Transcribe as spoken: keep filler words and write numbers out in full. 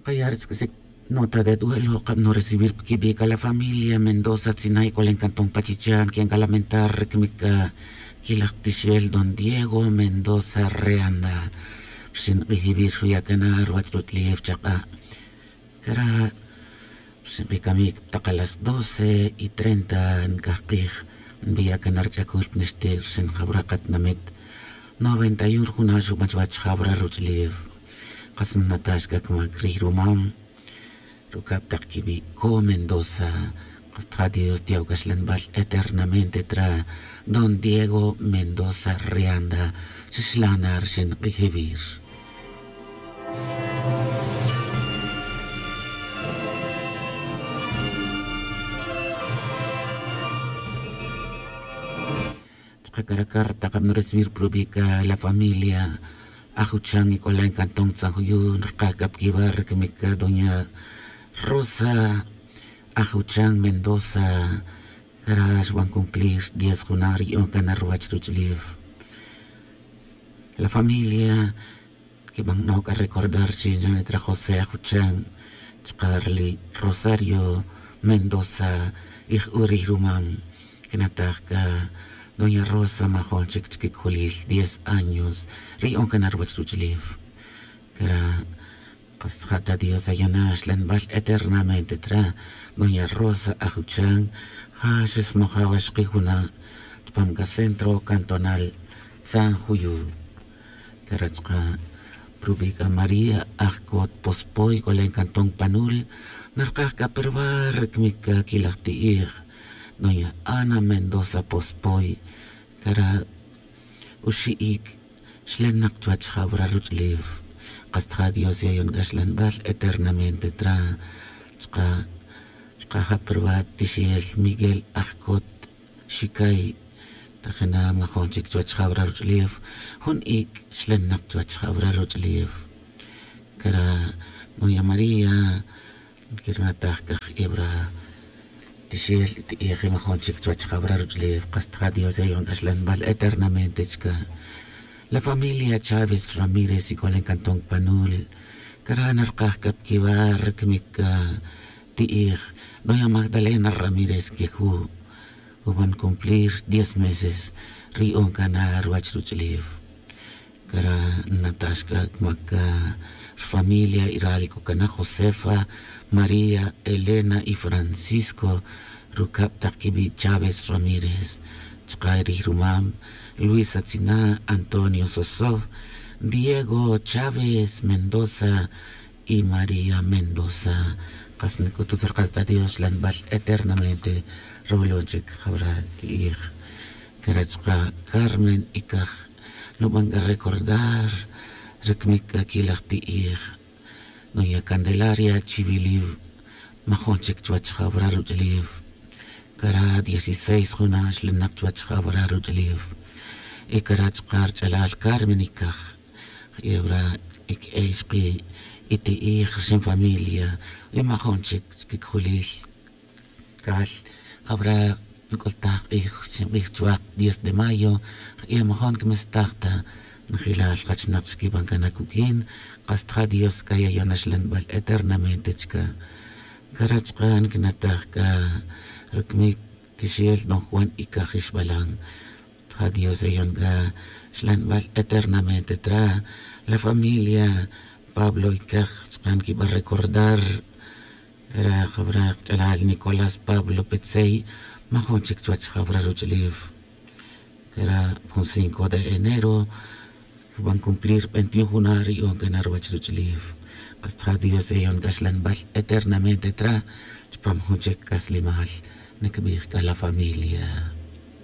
Kaya' ri tz'uc'isic nota de duelo kab no recibir pa quibi' c'a la familia mendoza tzinay c'olen cantón pachichan quian c'a lamentar ri camic c'a quilaj tixel don diego mendoza reanda. Rxin k'ij ibi' xuya' cana ruwach ruch'ulef chak'a'. Cara' rxin k'ij camic tak a las doce y treinta nc'aj k'ij nbiya' cana rich'acul pa nixti' rxin jawra katinamit noventa y un rujuna' xuban chuwach jawra ruch'ulef. Kas nnataj xc'ac mac rij rumam rucab tak quibi' co mendoza. Kas tja dios tiya'o c'axlanbal eternamente tra don diego mendoza reanda. Xixlana rxin k'ijibir. Chaka' cara' carta kab nurecibir pa rubi' c'a la familia ajuchan y c'ola' en cantón tzanjuyu nrkaj c'a pa quiba' ri camic c'a doña rosa ajuchan mendoza. Cara' xban cumplir diez juna' ri yu'on cana ruwach ruch'ulef. La familia quiban no c'a recordar chi nranitre josé ajuchan chaka' ri rosario mendoza. Y j'u' rij rumam quinataj c'a doña rosa majon chic chiquicojolil diez años ri yu'on cana ruwach ruch'ulef. Cara' kas ja ta dios ayona xlanbal eternamente tra doña rosa ajuchan. Ja xesmaja' wa xkijuna' chupam c'a centro cantonal tzanjuyu. Cara' chaka' pa rubi' c'a maría ajcot pospoy c'olen cantón panul narkaj c'a pa ruba' ri camic c'a quilaj ti'ij doña ana mendoza pospoy. Cara' uxi'ic xlenak chuwach jawra ruch'ulef. Kas tja dios yayon c'a xlanbal eternamente tra chaka' chaka' ja pa ruba' tixel miguel ajcot xicay tajina majon chic chuwach jawra ruch'ulef. Jun ic xlenak chuwach jawra ruch'ulef. Cara' doña maría quirnataj c'a j'ebra tixel y ti'ij y majon chic chuwach jawra ruch'ulef. Kas tja dios yayon c'a xlanbal eternamente chaka' la familia chaves ramírez y c'olen cantón panul. Cara' narkaj c'a pa quiba' ri camic c'a ti'ij doña magdalena ramírez queju' uban cumplir diez meses ri yu'on cana ruwach ruch'ulef. Cara' nnataj xc'ac mac c'a ri familia y ral c'o cana josefa maría elena y francisco rucab tak quibi' chaves ramírez chaka' rij rumam luisa tzina' antonio sosov diego chaves mendoza y maría mendoza. Kas nc'utut ri kas ta dios xlanbal eternamente rawilon chic jawra ti'ij. Cara' chaka' carmen y caj nuban c'a recordar ri camic c'a quilaj ti'ij. Nuya' candelaria chiwiliw majon chic chuwach jawra ruch'ulef. Cara' dieciséis juna' xlenak chuwach jawra ruch'ulef. Y cara' chaka' rich'alal carmen y caj j'ebra y que'ey xki' y ti'ij rxin familia y majon chic chiquicojolil. Cal jawra nc'ultaj k'ij rxin k'ij chuwak diez de mayo. J'e' majon quimestaj ta njelal kachinak chiquiban cana cuq'uin. Kas tja dios c'a yayon axlanbal eternamente chaka'. Cara' chaka' nquinataj c'a ri camic tixel don juan y caj ixbalan. Tja dios yayon c'a xlanbal eternamente tra la familia pablo y caj chaka' nquiba recordar. Cara' jawra kach'alal nicolás pablo petzey majon chic chuwach jawra ruch'ulef. Cara' jun cinco de enero xban cumplir veintiún juna' ri yu'on cana ruwach ruch'ulef. Kas tja dios yayon c'a xlanbal eternamente tra chupam jun chic c'aslemal. Nquibij c'a la familia.